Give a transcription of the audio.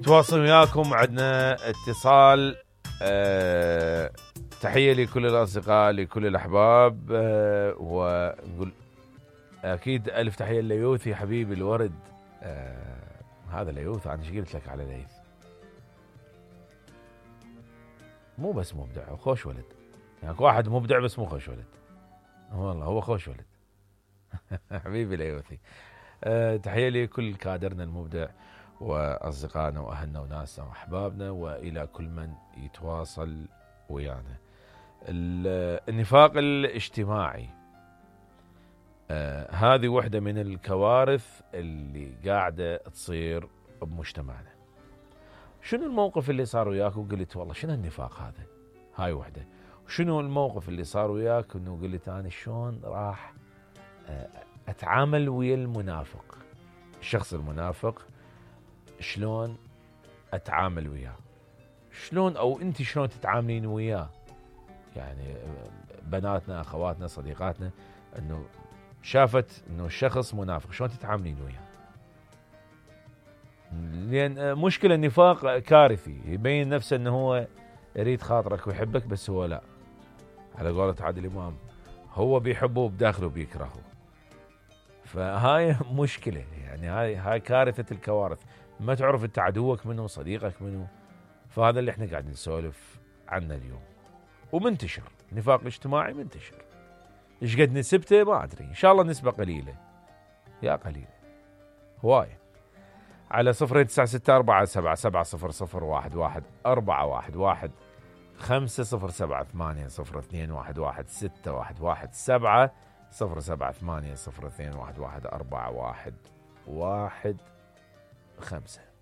نتواصل وياكم، عندنا اتصال. تحية لكل الأصدقاء، لكل الأحباب، ونقول أكيد ألف تحية ليوثي حبيبي الورد. هذا ليوث، أنا ايش قلت لك على ليث؟ مو بس مبدع وخوش ولد، يعني واحد مبدع بس مو خوش ولد. والله هو خوش ولد. حبيبي ليوثي. تحية لكل كادرنا المبدع وأصدقائنا وأهلنا وناسنا وأحبابنا، وإلى كل من يتواصل ويانا. النفاق الاجتماعي هذه واحدة من الكوارث اللي قاعدة تصير بمجتمعنا. شنو الموقف اللي صار وياك وقلت والله شنو النفاق هذا؟ هاي وحدة. شنو الموقف اللي صار وياك انه قلت انا شلون راح اتعامل ويا المنافق، الشخص المنافق شلون اتعامل وياه؟ شلون او انت شلون تتعاملين وياه؟ يعني بناتنا، اخواتنا، صديقاتنا، انه شافت انه الشخص منافق، شلون تتعاملين وياه؟ لان مشكلة النفاق كارثي، يبين نفسه انه هو يريد خاطرك ويحبك، بس هو لا، على قولة عادل امام، هو بيحبه بداخله بيكرهه. فهاي مشكلة، يعني هاي كارثة الكوارث، ما تعرف انت عدوك منه، صديقك منه. فهذا اللي احنا قاعدين نسولف عنه اليوم، ومنتشر نفاق اجتماعي منتشر. ايش قد نسبته ما ادري، ان شاء الله نسبة قليلة، يا قليلة هواية. على 09477001141 50780202117 07802114115.